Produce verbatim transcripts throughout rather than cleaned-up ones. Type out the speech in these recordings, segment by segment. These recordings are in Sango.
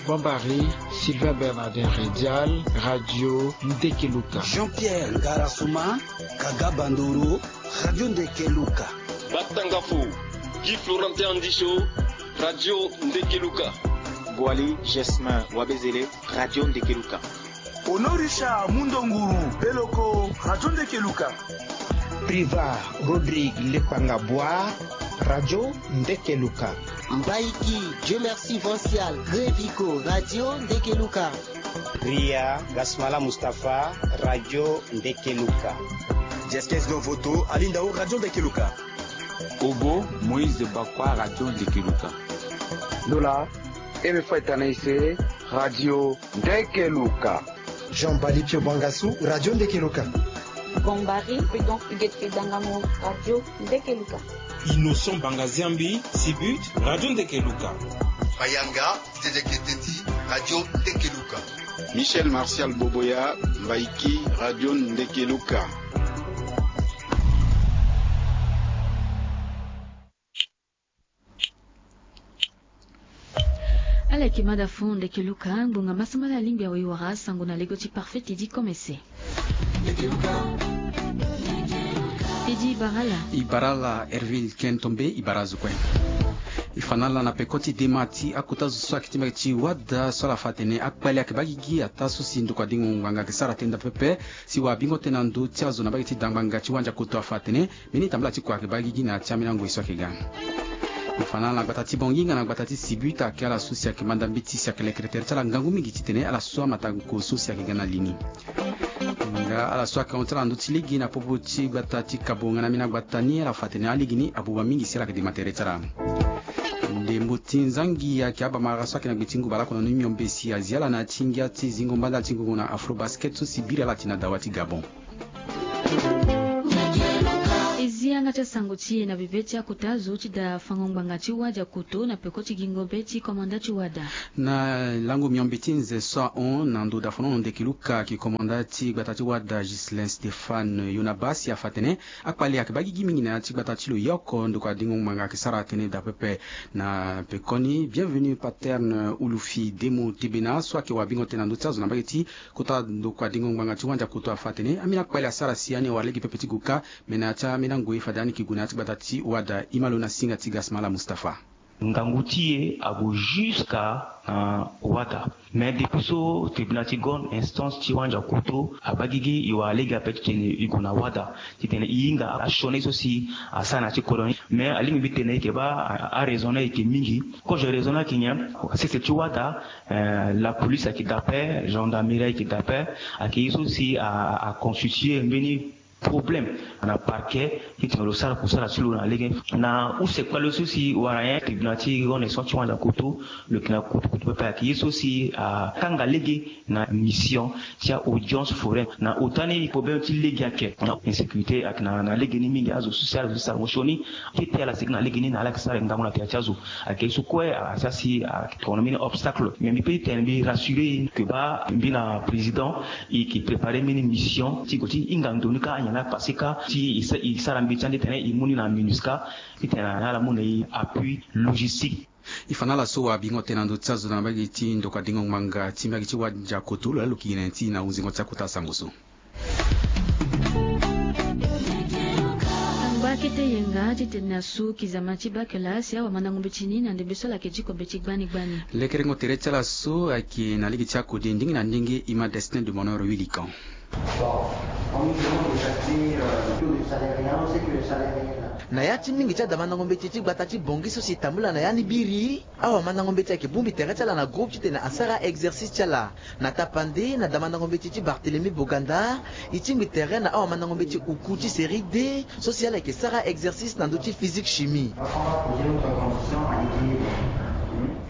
Bombari, Sylvain Bernardin Redial, Radio Ndekeluka. Jean-Pierre Ngarasuma, Kaga Bandoro, Radio Ndekeluka. Batangafo, Guy Florentin Andisho, Radio Ndekeluka. Boali Gesmin Wabezele, Radio Ndekeluka. Honorisha Mundonguru Beloko, Radio Ndekeluka. Priva Rodrigue Lepanga Bois, Radio Ndekeluka. Mbaiki Dieu Merci Vancial Grevico, Radio Ndekeluka. Ria Gasmala Mustapha, Radio Ndekeluka. Diaskes Dovoto Alindao, Radio Ndekeluka. Ogo Moïse Bakwa, Radio Ndekeluka. Lola Eme Faitanaise, Radio Ndekeluka. Jean Bali Pio Bangasu, Radio Ndekeluka. Bombari Prudent Huguette Dangamo, Radio Ndekeluka. Innocent Bangaziambi Sibut, Radio Ndekeluka. Mayanga Tete Keteti, Radio Ndekeluka. Michel Martial Boboya, Mbaiki, Radio Ndekeluka. Ala yeke mada fo Ndekeluka, ngbonga masambala alingbi awe wara sango na lego ti Parfait Teddy Komese. Teddy, i bara ala. I bara ala Herville Ken Tombe, i bara azo kue. I fa na ala na peko ti dema ti akota zo so ayeke ti mbage ti wada so ala fa atene akpali ayeke baa gigi ataa so si ndokua dingo ngbanga ayeke sara tënë daa pepe. Si wabingo tënë na ndö ti azo na mbage ti dangbanga ti wandiakoto afa atene mbeni tambala ti kua ayeke baa gigi na ya ti ambeni angoi so ayeke ga. I fa na ala na gbata ti Bangui nga na gbata ti Sibut ayeke ala so si ayeke manda mbeti si ayeke lekere tere ti ala ngangu mingi titene ala so amata ngu so si ayeke ga na li ni. Nga ala so ayeke hon ti ala na ndö ti lege na popo ti gbata ti Kabo nga na ambeni agbata ni, ala fa atene alege ni abuba mingi si ala yeke dema tere ti ala. Ndembo ti nzangi ayeke abamara so ayeke na gbe ti ngu bale oko na ni miombe si azi ala na ya ti ngia ti zingo mbanda ti ngongo na Afrobasket so si biri ala ti na dawa ti Gabon. E zi yanga ti asango ti e na bebe ti akota zo ti da fango ngbanga ti wadiakoto na peko ti gingo be ti komanda ti wada. Na lango miombe ti nze so ahon na ndo da fanono Ndekeluka, ki komanda ti gbata ti wada Ghislain Stéphane Yonaba si afa atene akpali ayeke baa gigi mingi na ya ti gbata ti lo, ye oko ndokua dingo ngbanga ayeke sara tënë daa pepe. Na pekoni, Bienvenu Paterne Ulufi Demo Tebena so ayeke wabingo tënë na ndö ti azo na mbage ti kota ndokua dingo ngbanga ti wandiakoto afa atene ambeni akpali asara si ani awara lege pepe ti gue kâ. Me na ya ti ambeni angoi fade ani yeke gue na ya ti gbata ti wada. Ima lo na singa ti Gasmala Mustapha. Ngangu ti e ague jusqu'à, euh, wada. Mais depuis so tribunal ti grande instance ti wandiakoto abaa gigi, e wara lege ape titene e gue na wada titene e hinga asioni so si asara na ya ti kodro ni. Mais alingbi mbi tene e yeke baa a, araison ni ayeke mingi. Kozo raison ni ayeke nyen? Sese ti wada, eh, la police ayeke daa ape, gendarmerie ayeke daa ape, ayeke ye so si a, a constitue mbeni problème na parquet titene lo sara kusala ti lo na lege. Na use kpale so si wara nyen, tribunal ti grande instance ti wandiakoto lo yeke na kutukutu pepe, ayeke ye so si akanga lege na mission ti a-audience foraine. Na ota ni problème ti lege ayeke, na insécurité ayeke na, na lege ni mingi. Azo so si ala zo ti sarango sioni, kete ala sigi na lege ni na ala yeke sara ngangu na tere ti azo. Ayeke ye so kue asara si ayeke tongana mbeni obstacle. Mais mbi peut ti tene mbi rassurer e que baa mbi na président e yeke préparer mbeni mission ti gue ti hinga ndo ni kâ, anyen laa passé kâ, si e sa, e sara mbeti ande titene e mu ni na MINUSCA titene ala mu na e appui logistique. E fa na ala so wabingo tënë na ndö ti azo na mbage ti ndokua dingo ngbanga ti mbage ti wandiakoto, lo laa lo yeke gi na ya ti e na hunzingo ti akota sango so. Angba akete yenga titene asu kizama ti bakela si awamandango mbeti ni na ndembe so ala yeke ti ko mbeti gbani gbani. Lekerengo tere ti ala so ayeke na lege ti akode ndenge na ndenge. Ima Destin de Bonheur Willican. Bon, en musulman, déjà, c'est, euh, le taux de salaire, hein, on sait que le salaire est là. Na ya ti mingi ti adamandango mbeti ti gbata ti Bangui so si tambula na ya ni biri, awamandango mbeti ayeke bongbi tere ti ala na groupe titene asara exercice ti ala. Na tapande, na damandango mbeti ti Barthélemy Boganda, e tingbi tere na awamandango mbeti oku ti série D so si ala yeke sara exercice na ndö ti physique chimie.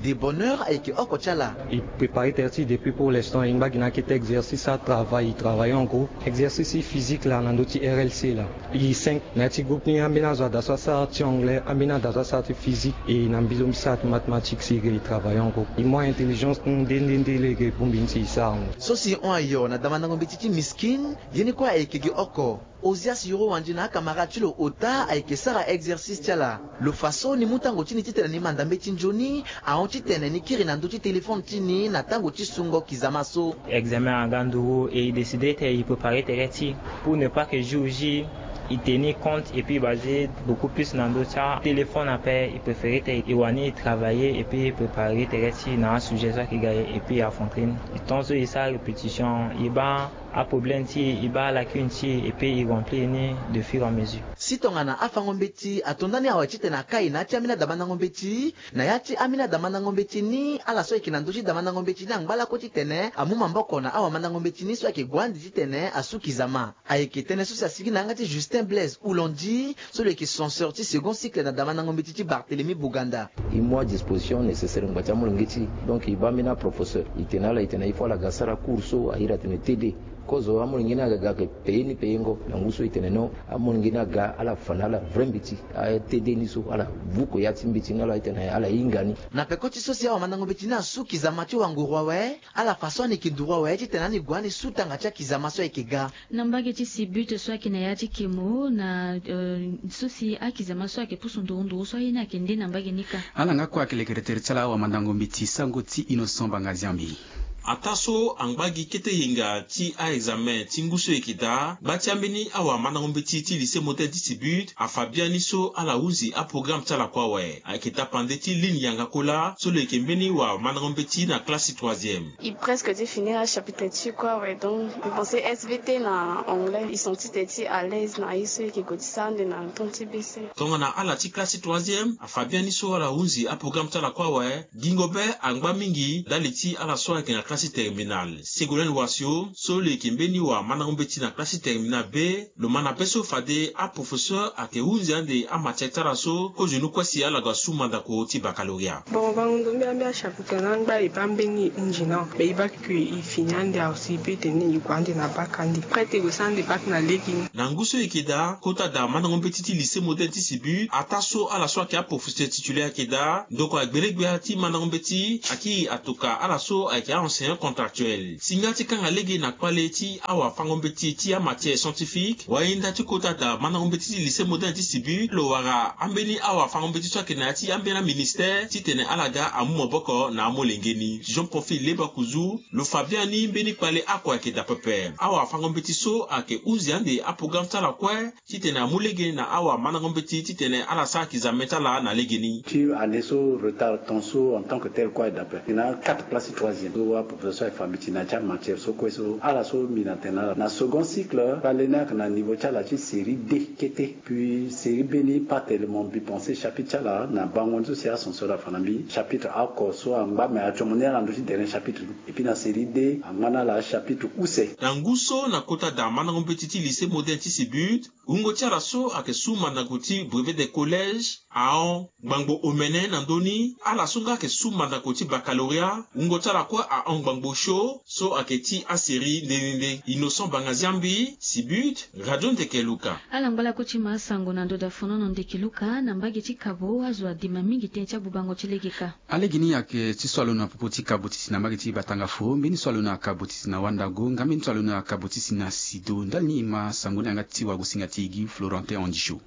De Bonheur ayeke oko ti ala. E préparer tere ti e depuis pour l'instant, e ngba gi na akete exercice, atravail, e travailler en groupe. Exercice physique laa na ndö ti R L C laa. E cinq na ya ti groupe ni, ambeni azo ada so asara ti anglais, ambeni ada so asara ti physique, e na mbi so mbi sara ti mathématique, si e travailler en groupe. E mu intelligence nde nde nde lege bongbi ni si e sara ango. So si e hon ayo na damandango mbeti ti miskin, ye ni kue ayeke gi oko. Ozias Yoro Wandi na akamara ti lo ota ayeke sara exercice ti ala. Lo fa so ni mu tango ti ni titene ni manda mbeti nzoni ahon titene ni kiri na ndö ti telefone ti ni na tango ti sungo kizama so. Examen aga nduru e i décide te i prépare tere ti i pour ne pas que jour ji i tenir compte et puis i baser beaucoup plus na ndö ti atéléphone ape. I préféré te i wani i travailler et puis i prépare tere ti i na asujet so ayeke ga ye et puis i affronter ni. I ton so i sara répétition i baa aproblème ti i, i baa lacune ti i et puis i remplir ni de fur et à mesure. Si tongana afango mbeti ato ndani awe titene akai na ya ti ambeni adamandango mbeti, na ya ti ambeni adamandango mbeti ni ala so ayeke na ndö ti damandango mbeti ni angba lakue titene amu maboko na awamandango mbeti ni so ayeke gue ande titene asu kizama. Ayeke tënë so si asigi na yanga ti Justin Blaise Houlandi so lo yeke censeur ti second cycle na damandango mbeti ti Barthélemy Boganda. I mu adisposition nécessaire ngba ti amolenge ti i. Donc i baa ambeni aprofesseur i tene ala i tene il faut ala ga sara cours so a iri atene T D. Kozo amolenge ni aga ga ayeke payé ni payengo. Na ngu so i tene non, amolenge ni aga ala fa na ala vrai mbeti. A-T D ni so ala vuko ya ti mbeti ni ala i tene ala hinga ni. Na peko ti so si awamandango mbeti ni asu kizama ti wanguru awe, ala fa so ani yeke nduru awe titene ani gue ani su tanga ti akizama so ayeke ga. Na mbage ti Sibut so ayeke na ya ti Kemo na, eh, so si akizama so ayeke pusu nduru nduru so aye ni ayeke nde na mbage ni kâ. Ala nga kue ayeke lekere tere ti ala awamandango mbeti sango ti Innocent Bangaziambi. Ataa so angba gi kete yenga ti a-examen ti ngu so e yeke daa, gba ti ambeni awamandango mbeti ti lycée moderne ti Sibut afa biani so ala hunzi aprograme ti ala kue awe. Ayeke tapande ti Line Yanga Kola so lo yeke mbeni wamandango mbeti na classe ti troisième. I presque ti finir achapitre ti kue awe, donc i pense S V T na anglais, i senti tene ti à l'aise na ye so i yeke gue ti sara ande na temps ti B C. Tongana ala ti classe ti troisième afa biani so ala hunzi aprograme ti ala kue awe. Gingo be angba mingi ndali ti ala so ayeke na classe ti terminale. Ségolène Wasio so lo yeke mbeni wamandango mbeti na classe ti terminale be, lo ma na be so fade aprofesseur ayeke hunzi ande amatière ti ala so kozoni kue si ala ga su mandako ti baccalauréat. Bon, bango ndo mbi ambeni achapitre na angba e baa mbeni e hunzi na me e baa kue e fini ande awe si e peut tene e gue ande na bac ande. Prête e gue sara ande bac na lege ni. Na ngu so e yeke daa, kota daa mandango mbeti ti lycée moderne ti Sibut ataa so ala so ayeke aprofesseur titulaire ayeke daa, ndokua gbenegbia ti mandango mbeti akiri atoka ala so ayeke a-enseignant contractuel. Singa ti kanga lege na kpale ti awafango mbeti ti amatière scientifique, wayenda ti kota daa mandango mbeti ti lycée moderne ti Sibut lo wara ambeni awafango mbeti so ayeke na ya ti ambeni aministère titene ala ga amu maboko na amolenge ni. Jean Profil Leba Kuzu lo fa biani mbeni kpale oko ayeke daa pepe. Awafango mbeti so ayeke hunzi ande aprograme ti ala kue titene amu lege na awamandango mbeti titene ala sara kizame ti ala na legeni. Ti année so retard ton so en tant que tel kue aye daa ape. E na quatre classe ti troisième so aprofesseur so aye fa mbi ti na ya ti amatière so kue so ala so mbi na tene na ala na second cycle kpale ni ayeke na niveau ti ala ti série D kete. Puis série B ni pas tellement, mbi pense chapitre ti ala na bango ni so si ascenseur afa na mbi chapitre oko so angba me atiomo ni ala ndö ti dernier chapitre ni. Et puis na série D angba na ala chapitre use. Na ngu so na kota daa mandango mbeti ti lycée moderne ti Sibut, wungo ti ala so ayeke su mandako ti brevet de collège ahon ngbangbo omene na ndö ni. Ala so nga ayeke su mandako ti baccalauréat wungo ti ala kue ahon ngbangbo sio so ayeke ti asérie nde nde nde. Innocent Bangaziambi, Sibut, Radio Ndeke Luka. Ala ngba lakue ti ma asango na ndo daa fonono Ndeke Luka na mbage ti kabo azo adima mingi tënë ti agbubango ti lege kâ. Alege ni ayeke ti so alo na popo ti kabo ti si na mbage ti Batangafo, mbeni so alo na kabo ti si na Wandago nga mbeni so alo na kabo ti si na Sido. Ndali ni e ma sango ni yanga ti wagosinga ti e gi Florentin Andisho.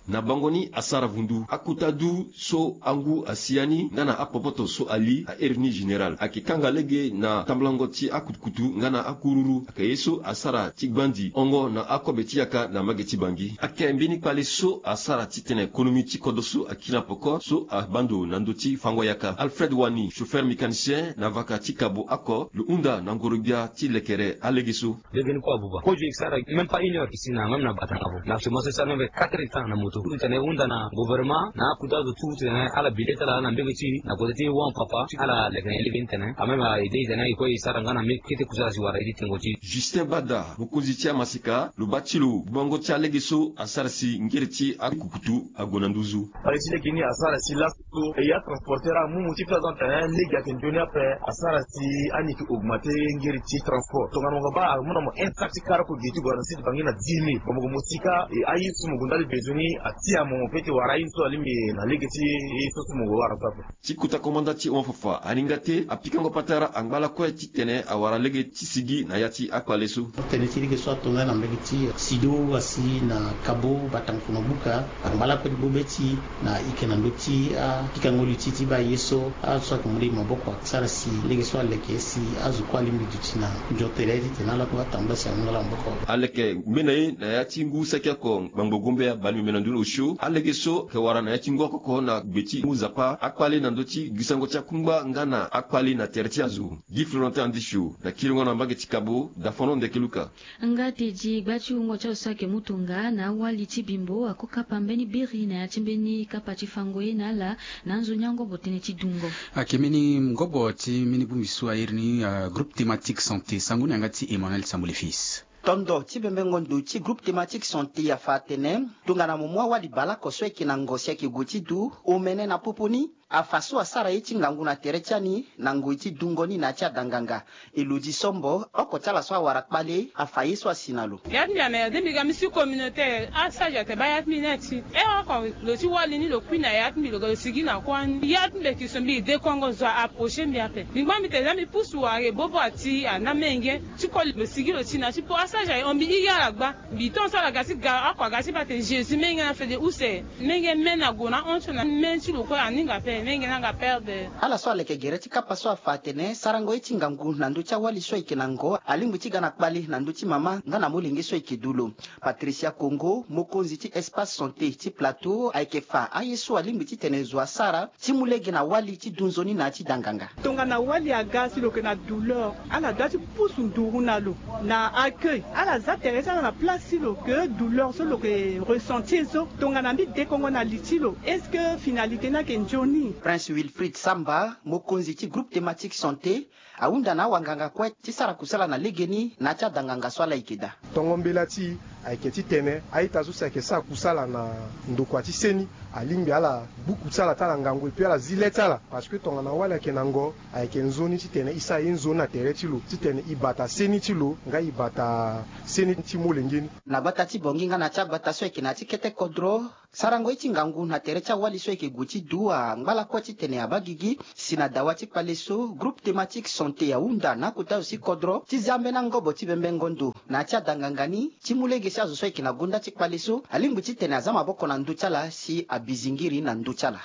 Na bango ni asara vundu akota du so angu asi ya ni nga na apopoto so ali a iri ni général ayeke kanga lege na tambulango ti akutukutu nga na akururu ayeke ye so asara ti gbandi hongo na akobe ti yaka na mbage ti Bangi. Ayeke mbeni kpale so asara titene konomi ti kodro so akiri na peko so abaa ndo na ndö ti fango yaka. Alfred Wani, chauffeur mécanicien na vaka ti kabo oko, lo hunda na ngoro-gbia ti lekere alege so. Lege ni kue abuba. Kozo e sara même pas une heure ici na même na Batangafo. Mais actuellement so e sara même quatre heures de temps na moto. Pour titene e hunda na gouvernement na akuta azo tout titene ala bi lê ti ala na mbege ti e na kote ti e wa papa ti ala leke na e lege ni tene. A même a aidé e tene e kue e sara nga na mbeni kete kusala si wara e ti tengo ti e. Justin Bada, mokonzi ti amaseka, lo baa ti lo gbubango ti alege so asara si ngere ti akukutu ague na nduzu. Kpale ti lege ni asara si laso so e ya transporteur amu mo ti place donc tene lege ayeke nzoni ape. Asara si ani yeke augmenter ngere ti transport. Tongana mo baa amu na mo un sac ti kara oko ge ti gue na site Bangi na dix mille. Bon mo gue mo sika e aye so mo gue ndali benzoni. Atia mo mo pe ti wara aye so alingbi na lege ti ye so so mo wara so ape. Ti kota komanda ti hon fafa aninga te apikango patara angba lakue titene awara lege ti sigi na ya ti akpale so. Tënë ti lege so ato nga na mbege ti sido asi na kabo batangu fono buka angba lakue ti gbo be ti na ike na ndö ti apikango li ti ti baa ye so azo so ayeke mu lege maboko asara si lege so aleke si azo kue alingbi duti na nzo tere titene ala kue atambula si amu nga ala maboko. Aleke ngbe na ye na ya ti ngu saki oko ngbangbo gombe abali meme na ndö ni osio alege so ayeke wara na ya ti ngu oko oko na gbe ti mu nzapa akpale na ndö ti gisango ti akungba nga na akpale na tere ti azo. Gi florentin andisio na kiringo na mbage ti kabo dafono ndeke luka. Nga tedi gba ti wungo ti azo so ayeke mu tonga na awali ti bimbo ako kapa mbeni biri na ya ti mbeni kapa ti fango ye na ala na anzoni angobo tënë ti dungo. Ayeke mbeni ngobo ti mbeni bongbi so airi ni groupe thématique santé sango ni yanga ti Emmanuel Sambo le fils. Tondo ti bembengo ndo ti groupe thématique santé afa atene tongana mo mu awali baleoko so ayeke na ngo si ayeke gue ti du omene na popo ni. Afa so asara ye ti ngangu na tere ti ani na ngoi ti dungo ni na ya ti adanganga. Elodi sombo oko ti ala so awara kpale afa ye so asi na lo. Ya ti mbi amerde mbi ga mbi si communautaire asage ate baa ya ti mbi ni ati e oko lo ti wali ni lo kui na ya ti mbi lo ga lo sigi na kuâ ni ya ti mbi eke so mbi dekongo zo a approcher mbi ape mbi ngba mbi tene za mbi pusu ware bobo ati ana menge ti koli lo sigi lo ti na ti po asage aye hon mbi iri ala gba. Mbi tonso ala ga ti ga oko aga ti baa tene jésus menge na fede use menge me na gue na hon ti lo na me ti lo kue aninga ape menge na nga perde. Ala so aleke gere ti kapa so afa atene sarango ye ti ngangu na ndö ti awali so ayeke na ngo alingbi ti ga na kpale na ndö ti mama nga na molenge so ayeke du lo. Patricia kongo mokonzi ti espace santé ti plateau ayeke fa aye so alingbi titene zo asara ti mu lege na wali ti du nzoni na ya ti danganga. Tongana wali aga si lo yeke na douleur ala doit ti pusu nduru na lo na accueil ala za tere ti ala na place ti lo ke douleur so lo yeke ressentir so tongana mbi dekongo na li ti lo est-ce que finalité ni ayeke nzoni? Prince wilfrid samba mokonzi ti groupe thématique santé ahunda na awanganga kue ti sara kusala na legeni na ya ti adanganga so ala yeke daa. Tongo mbela ti e ayeke titene a-ita so si ayeke sara kusala na ndokua ti seni alingbi ala gbu kusala ti ala ngangu epui ala zi le ti ala parce que tongana wali ayeke na ngo ayeke nzoni titene e sara ye nzoni na tere ti lo titene e bata seni ti lo nga e bata seni ti molenge ni. Na gbata ti bongi nga na ya ti agbata so ayeke na ya ti kete kodro sarango ye ti ngangu na tere ti awali so ayeke gue ti du angba lakue titene abaa gigi si na dawa ti kpale so groupe thématique santé ahunda na akota zo ti kodro ti za ambeni angobo ti bembengo ndo na ya ti adanganga ni ti mu lege si azo so ayeke na gonda ti kpale so alingbi titene aza maboko na ndö ti ala si abizingiri na ndö ti ala.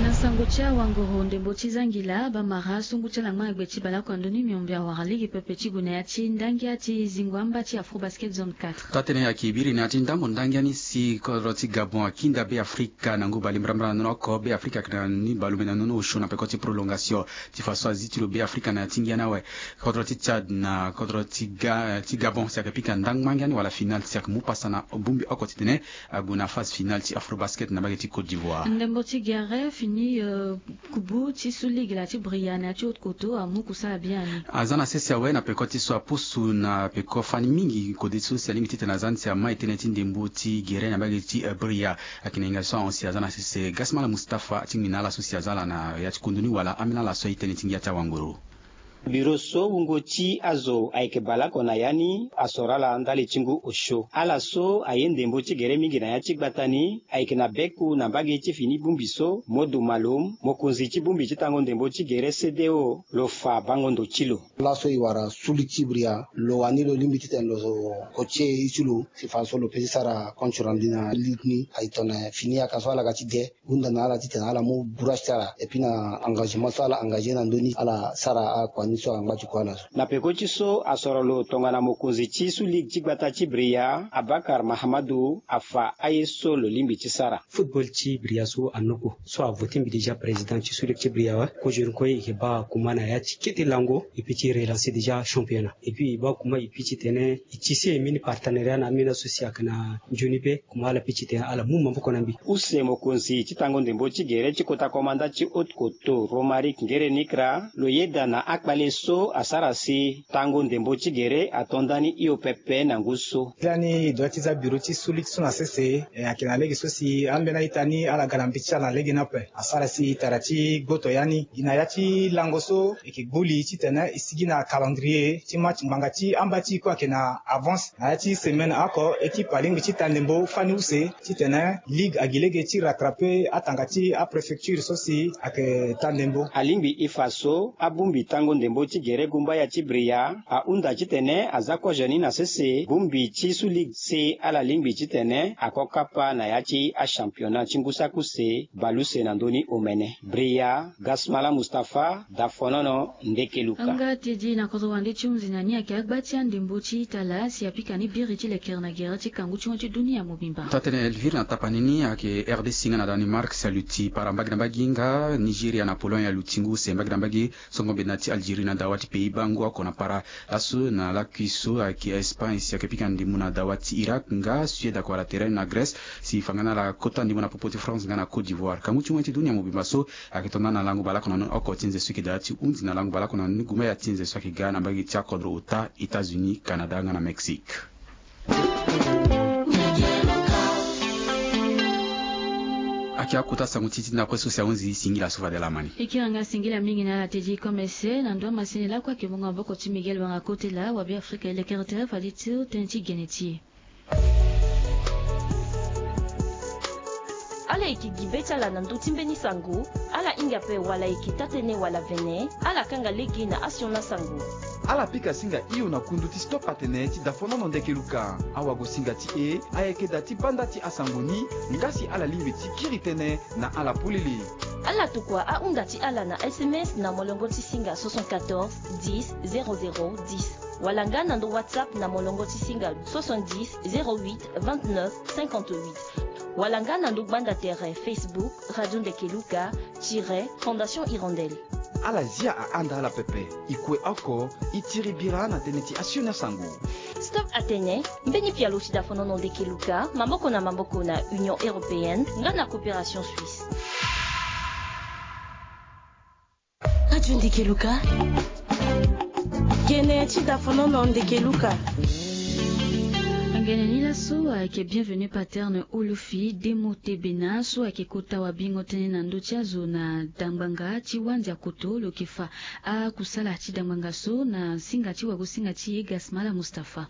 Na sango ti awangoro ndembo ti zangila bamara sungu ti ala ngba na gbe ti baleoko na ndö ni miombe awara lege pepe ti gue na ya ti ndangia ti zingo amba ti afro basket zone quatre. Taa-tënë ayeke biri na ya ti ndambo ndangia ni si kodro ti gabon akinda be afrika na ngu bale mbrambra na nono oko be afrika ayeke na ni baleomene na nono osio na peko ti prolongation ti fa so azi ti lo be afrika na ya ti ngia ni awe. Kodro ti tchad na kodro ti gabon si ayeke pika ndangba ngia ni wala final si ayeke mu pasa na bongbi oko titene ague na phase finale ti afro basket na mbage ti côte d'ivoire. Ndembo ti gere fini kubu ti su ligue la ti bria na ya ti haute koto amu kusala biani. Aza na sese awe na peko ti so apusu na peko fani mingi kode so si alingbi titene aza ni si ama etene ti ndembo ti gere na mbage ti bria. Ayeke na hinga so ahon si aza na sese gasmala mustafa atingbi na ala so si aza ala na ya ti kundoni wala ambeni ala so aye tënë ti ngia ti awanguru. Biro so wungo ti azo ayeke baleoko na ya ni asoro ala ndali ti ngu osio ala so aye ndembo ti gere mingi na ya ti gbata ni ayeke na beku na mbage ti fini bongbi so modu malom mokonzi ti bongbi ti tango ndembo ti gere cdo lo fa bango ndo ti lo. Laso e wara su ligi ti bria lo wani lo lingbi titene lo kotie ye ti lo si fa so lo pe ti sara compte rendu na ligi ni aye tongana fini yaka so ala ga ti de. Hunda na ala titene ala mu bourage ti ala epui na engagement so ala engage na ndö ni ala sara akua ni so angba ti kua na so. Na peko ti so asoro lo tongana mokonzi ti su ligue ti gbata ti bria abakar mahamadu afa aye so lo lingbi ti sara. Football ti bria so anoko so avote mbi déjà président ti su ligue ti bria awe. Kozoni kue e yeke baa kuma na ya ti kete lango epui ti relancer déjà championnat epui e baa kuma epui titene e tise mbeni partenariat na ambeni aso si ayeke na nzoni pe. Kuma ala pe titene ala mu maboko na mbi. Use mokonzi ti tango ndembo ti gere ti kota komanda ti haute koto romaric ngere nikra lo yeda na akpale. E so asara si tango ndembo ti gere ato ndani hio pepe na ngu so. Lani e doit ti za biro ti suli ti so na sese, e, ayeke na lege so si ambeni a-ita ni ala ga na mbi ti ala na lege ni ape. Asara si tara ti gboto ya ni gi na ya ti lango so e yeke gbu li titene e sigi na calendrier ti match ngbanga ti amba ti e kue ayeke na avance na ya ti semaine oko. Équipe alingbi ti ta ndembo fani use titene ligue agi lege ti rattraper atanga ti apréfecture so si ayeke ta ndembo. Alingbi e fa so abongbi tango ndembo ti gere gumbaya ti Bria ahunda titene aza kozo ni na sese bongbi ti sous ligue si ala lingbi titene ako kapa na ya ti achampionnat ti ngu saki use bale use na ndö ni omene. Bria, Gasmala Mustapha, Dafonono, Ndekeluka. Anga tedi na kodro wande ti hunzi na ni ayeke agba ti andembo ti tala si apika ni biri ti lekere na gere ti kangu ti hon ti dunia mobimba. Taa-tënë Elvire na tapani ni ayeke R D C nga na Danemark si aluti para mbage na mbage nga Nigeria na Pologne aluti ngu use mbage na mbage. Songo mbe na ti Algérie na dawa ti Pays-Bas ngu oko na para. Laso na lakui so ayeke Espagne si ayeke pika ndembo na dawa ti Irak nga Suède ako wara tere na Grèce si fa nga na ala kota ndembo na popo ti France nga na Côte d'Ivoire. Kangu ti hon ti dunia mobimba so ayeke to nda na lango baleoko na ni oko ti nze so e yeke daa ti hunzi na lango baleoko na ni gumbaya ti nze so ayeke ga na mbage ti akodro ota États-Unis, Canada nga na Mexique. Ayeke akota sango ti ti na kue so si ahunzi singila so fade laa ma ni. E kiri nga singila mingi na ala tedi komese na ndo amasini lakue ayeke mungo maboko ti Miguel Wanga Kotela wa Be Afrika e lekere tere fade ti tënë ti gene ti e. Ala yeke gi be ti ala na ndö ti mbeni sango. Ala hinga ape wala e yeke taa-tënë wala vene, ala kanga lege na asioni asango. Ala pika singa hio na kundu ti Stop Atene ti Dafonono Ndekeluka. Awagosinga ti e ayeke da ti banda ti asango ni, nga si ala lingbi ti kiri tënë na ala polele. Ala tokua ahunda ti ala na S M S na molongo ti singa soixante-quatorze dix zéro zéro dix. Wala nga na ndo WhatsApp na molongo ti singa soixante-dix zéro huit vingt-neuf cinquante-huit. Wala nga na ndo gbanda tere Facebook Radio Ndekeluka tiret Fondation Hirondelle. Ala zia ahanda ala pepe. E kue oko, e tiri bira na tënë ti asioni asango. Stop Atene, mbeni pialo ti Dafonono Ndekeluka, maboko na maboko na Union Européenne nga na Coopération Suisse. Radio Ndekeluka. Gene ti Dafonono Ndekeluka. Angene ni laso ayeke Bienvenu Paterne Olofi Demo Tebena so ayeke kota wabingo tënë na ndö ti azo na dangbanga ti Wandiakoto. Lo yeke fa akusala ti dangbanga so na singa ti wagosinga ti e Gasmala Mustapha.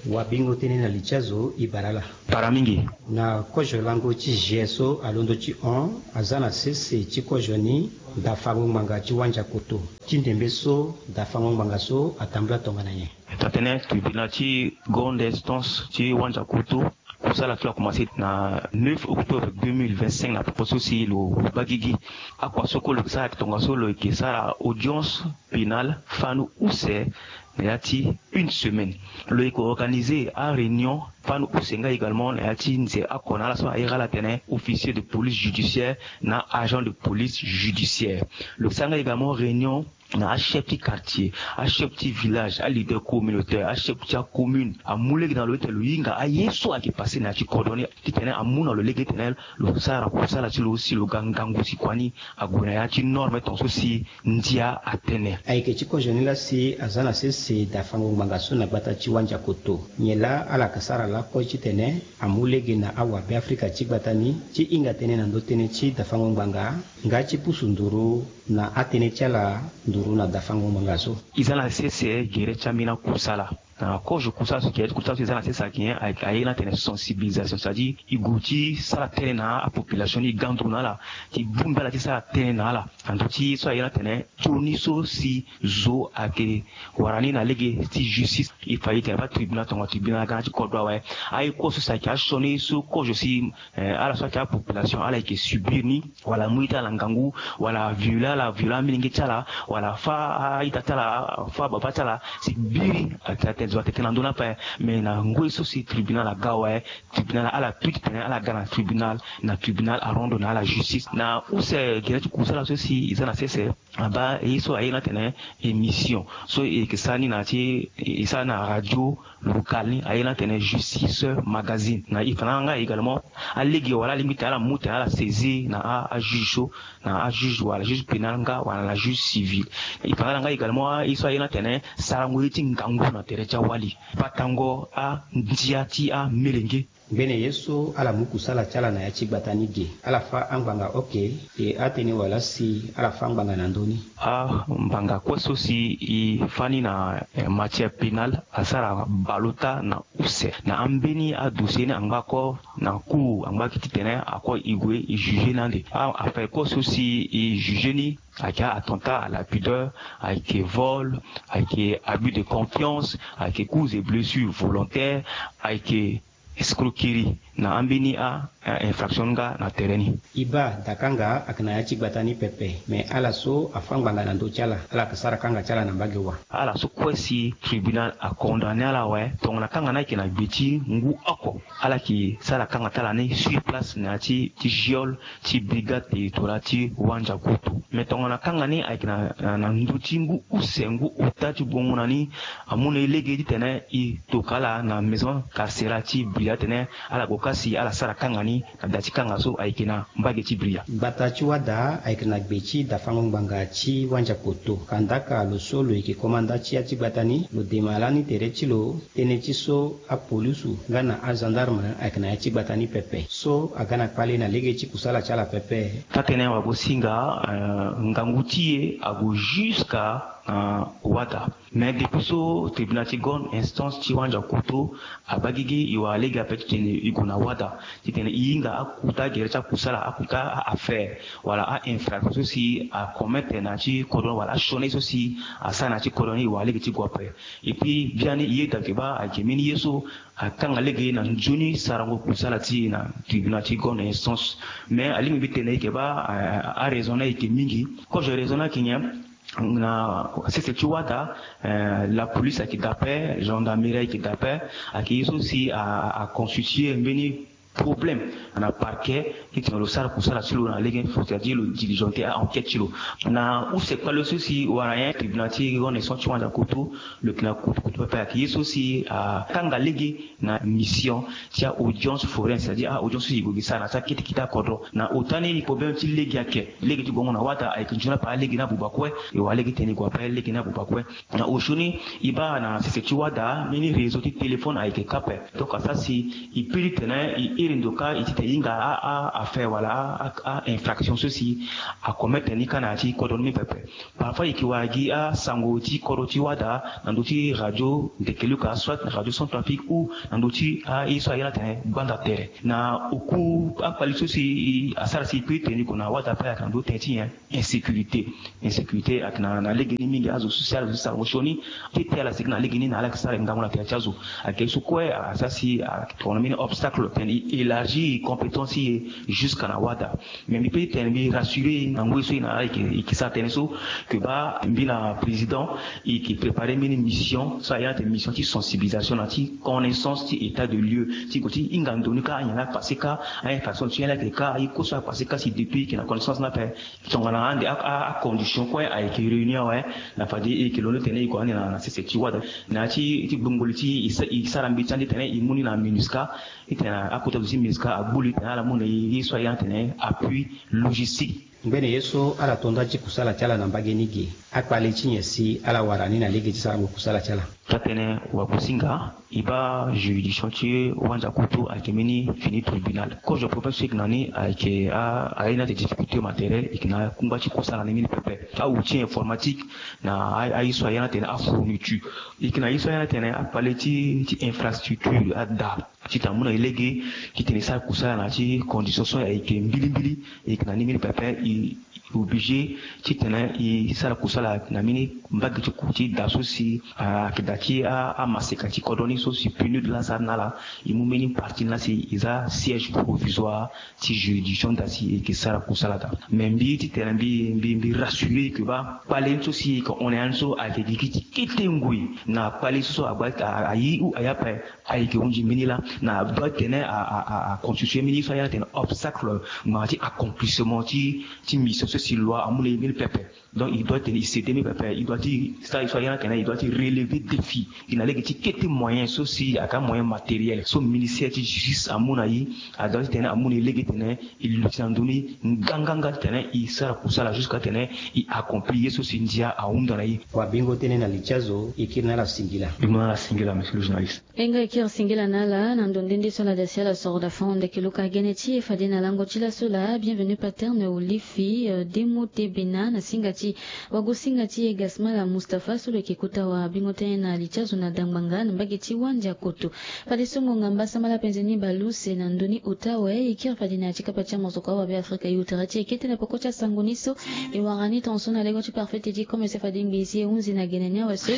Wabingo tënë na li ti azo e bara ala. Bara mingi. Na kozo lango ti G S O alondo ti hon aza na sese ti kozo ni dafango ngbanga ti Wandiakoto. Ti ndembe so dafango ngbanga so atambula tongana nyen? Taa-tënë tribunal ti grande instance ti Wandiakoto, kusala so akomanse na neuf octobre deux mille vingt-cinq na popo so si lo baa gigi. Akua so kue lo yeke sara ayeke tongaso lo yeke sara audience pénale fani use na ya ti une semaine. Lo yeke organiser aréunion fani use nga également na ya ti nze oko na ala so airi ala atene officier de police judiciaire na agent de police judiciaire. Lo yeke sara nga également réunion na achef ti quartier, achef ti village, aleader communautaire, achef ti acommune. Amu lege na lo ti tene lo hinga aye so ayeke passe na ya ti kodro ni titene amu na lo lege ti tene lo sara kusala ti lo si lo ga ngangu si kua ni ague na ya ti norme tongaso si ndia atene. Ayeke ti kozo ni laa si aza na sese dafango ngbanga so na gbata ti Wandiakoto. Nyen laa ala yeke sara lakue titene amu lege na awabe Afrika ti gbata ni ti hinga tënë na ndö tënë ti dafango ngbanga nga ti pusu nduru na atënë ti ala nduru na dafango ngbanga so. E za na sese gere ti ambeni akusala. Na kozo kusala so gere ti kusala so e za na sese ayeke nyen? Aye ni atene sensibilisation, c'est-à-dire e gue ti sara tënë na apopulation ni, e ga nduru na ala, ti bongbi ala ti sara tënë na ala na ndö ti ye so aye ni atene sioni so si zo ayeke wara ni na lege ti justice. E fa e tene baa tribunal tonga tribunal aga na ti kodro awe. Aye kue so si ayeke asioni so kozo si Eh, ala so ayeke apopulation ala yeke subir ni, wala amu ita ala ngangu, wala avioler ala, avioler amilenge ti ala, wala afâ a-ita ti ala, afâ ababa ti ala, si biri atene zo atene tënë na ndö ni ape. Mais na ngoi so si tribunal aga awe, tribunal ala tu titene ala ga na tribunal, na tribunal arondo na ala justice. Na use gere ti kusala so si e za na sese, abaa ye so aye ni atene émission so e yeke sara ni na ya ti, e sara ni na radio local ni aye ni atene Justice Magazine. Na e fa na ala nga également alege wala alingbi tene ala mu tene ala saisir na ajuge so, na ajuge wala juge pénal nga wala na juge civil. E fa na ala nga également aye so aye ni atene sarango ye ti ngangu na tere ti awali, batango andia ti amelenge. Ngbene ye so ala mu kusala ti ala na ya ti gbata ni ge, ala fâ angbanga oke. E atene wala si ala fâ angbanga na ndö ni? Angbanga kue so si e fâ ni na matière pénale asara baleota na use na ambeni adossier ni angbako na cour angbaki titene ako e gue e juger ni ande. Affaire kue so si e juger ni ayeke attentat à la pudeur, ayeke vol, ayeke abus de confiance, ayeke coups et blessures volontaires, ayeke escroquerie na ambeni a-infraction nga na tere ni. E baa dakanga ayeke na ya ti gbata ni pepe, me ala so afâ ngbanga na ndö ti ala, ala yeke sara kanga ti ala na mbage wa. Ala so kue si tribunal acondamné ala awe, tongana kanga ni ayeke na gbe ti ngu oko, ala yeke sara kanga ti ala ni sur place na ya ti ti geole ti brigade territoriale ti Wandiakoto. Me tongana kanga ni ayeke na ndö ti ngu use ngu ota ti gongo na ni, amu na e lege titene e toka ala na maison carcérale ti Bria tene ala gue ka si ala sara kanga ni na da ti kanga so ayeke na mbage ti Bria. Gbata ti Wada ayeke na gbe ti dafango ngbanga ti Wandiakoto. Kandaka lo so lo yeke komanda ti ya ti gbata ni lo dema lani tere ti lo tënë ti so apolisu nga na agendarme ayeke na ya ti gbata ni pepe so aga na kpale na lege ti kusala ti ala pepe. Taa-tënë wagosinga, ngangu ti e ague jusqu'à na Wada. Mais depuis so tribunal ti grande instance ti Wandiakoto abaa gigi, e wara lege ape titene e gue na Wada titene e hinga akuta gere ti akusala, akuta a-affaire wala a-infraction so si acommettre na ya ti kodro ni wala asioni so si asara na ya ti kodro ni, e wara lege ti gue ape. Et puis biani e yeda yeke baa ayeke mbeni ye so akanga lege na nzoni sarango kusala ti e na tribunal ti grande instance. Mais alingbi mbi tene yeke baa araison ni ayeke mingi. Quand je raisonne ayeke nyen? Na sese ti Wada, eh, la police ayeke daa ape, gendarmerie ayeke daa ape, ayeke ye so si a, a constituer mbeni problème na parquet titene lo sara kusala ti lo na lege fo, c'est-à-dire lo diligenter a-enquête ti lo. Na use kpale so si wara nyen, tribunal ti grande instance ti Wandiakoto lo yeke na kutukutu pepe, ayeke ye so si akanga lege na mission ti a-audience foraine, c'est-à-dire a-audience so e gue gi sara na ti akete kete akodro. Na ota ni problème ti lege ayeke, lege ti gongo na Wada ayeke nzoni ape, alege ni abuba kue. E wara lege titene e gue ape, lege ni abuba kue. Na osio ni e baa na sese ti Wada mbeni réseau ti téléphone ayeke kâ ape. Donc asara si e peut titene e iri ndo kâ e titene e hinga a, a-affaire wala a-infraction so si acommettre ni kâ na ya ti kodro ni pepe. Parfois e yeke wara gi asango ti kodro ti Wada na ndö ti radio Ndeke Luka, soit na radio Centrafrique ou na ndö ti aye so aye ni atene Gbanda Tere. Na oku akpali so si asara si e peut tene e gue na Wada ape ayeke na ndö ti tënë ti nyen? Insécurité. Insécurité ayeke na, na lege ni mingi. Azo so si ala zo ti sarango sioni ti te ala sigi na lege ni na ala yeke sara ngangu na tere ti azo. Ayeke ye so kue asara si atongana mbeni obstacle titene e élargir compétence ti e jusqu'à na Wada. Mais mbi peut titene mbi rassurer na ngoi so e na ala e yeke sara tënë so, que baa mbi na président e yeke préparer mbeni mission so aye ni atene mission ti sensibilisation na ti connaissance ti état de lieu ti gue ti hinga ndo ni kâ, anyen la apasser kâ, a-infraction ti nyen la ayeke kâ, aye kue so apasser kâ si depuis e yeke na connaissance ni ape. Tongana ande a, a, acondition kue ayeke réunir awe, na fade e yeke londo titene e gue ande na, na sese ti Wada na ya ti, ti gbongboli ti e, e sara mbeti ande titene e mu ni na MINUSCA. Titene akota zo ti MINUSCA agbu li titene ala mu na e ye so aye ni atene appui logistique. Ngbene ye so ala to nda ti kusala ti ala na mbage ni ge, akpale ti nyen si ala wara ni na lege ti sarango kusala ti ala? Taa-tënë wagosinga, e baa juridiction ti Wandiakoto ayeke mbeni fini tribunal. Cause de problème so e yeke na ni ayeke a, aye ni atene difficulté matériel, e yeke na kungba ti kusala ni mbeni pepe. Aoutil informatique na a, aye so aye ni atene afourniture. E yeke na ye so aye ni atene akpale ti, ti infrastructure ada. Titene amu na e lege titene e sara kusala na ya ti condition so ayeke mbilimbili. E yeke na ni mbeni pepe, e obligé titene e sara kusala na mbeni mbage ti ku ti da so si ayeke da ti a, amaseka ti kodro ni so si PNUD laa asara na ala. E mu mbeni partie ni laa si e za siège provisoire ti juridiction da si e yeke sara kusala da. Mais mbi titene mbi, mbi, mbi rassurer e que baa kpale ni so si e yeke hon na ya ni so ayeke gigi ti kete ngoi na kpale so so agba a, aye ou aye ape. Ayeke hunzi mbeni laa na doit tene a, a, a, a constituer mbeni ye so aye ni atene obstacle ngbanga ti accomplissement ti, ti mission so si loi amu na e mbeni pepe. Donc il doit tene i céder mbi pepe, il doit ti sara i so ayana tene il doit ti relever défi. I na lege ti kete moyen so si aka moyen matériel so ministère ti justice amu na i. Adua ti tene amu na i lege tene i luti na ndoni nganganga ti tene i sara kusala jusqu'à tene i accomplir ye so si ndia ahunda na i. Wabingo tene na litia zo i kiri na ala singila. Bingo na ala singila monsieur le journaliste. E nga e kiri singila na ala na ndo nde nde so ala da si ala soro da fon ndeke luka gene ti e fade na lango ti laso laa bienvenu paterne olifi demo te bena na singa ti wagosinga ti e gasmala mustapha so lo yeke kota wabingo tënë na li ti azo na dangbanga na mbage ti wandia koto. Fadeso ngonga mbasambala penze ni baleuse na ndoni ota awe e kiri fade na ya ti kapa ti amosoko awabe afrika e utere ti e kete na poko ti asango ni so. E wara ni tonso na lego ti parfait ti e ti komese fade ngbii si e hunzi na gene ni awe so.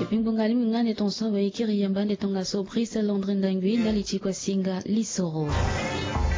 Epui ngbonga alingbi nga ande tonso awe e kiri yamba ande tongaso brise londre ndangui ndali ti kua singa lisoro.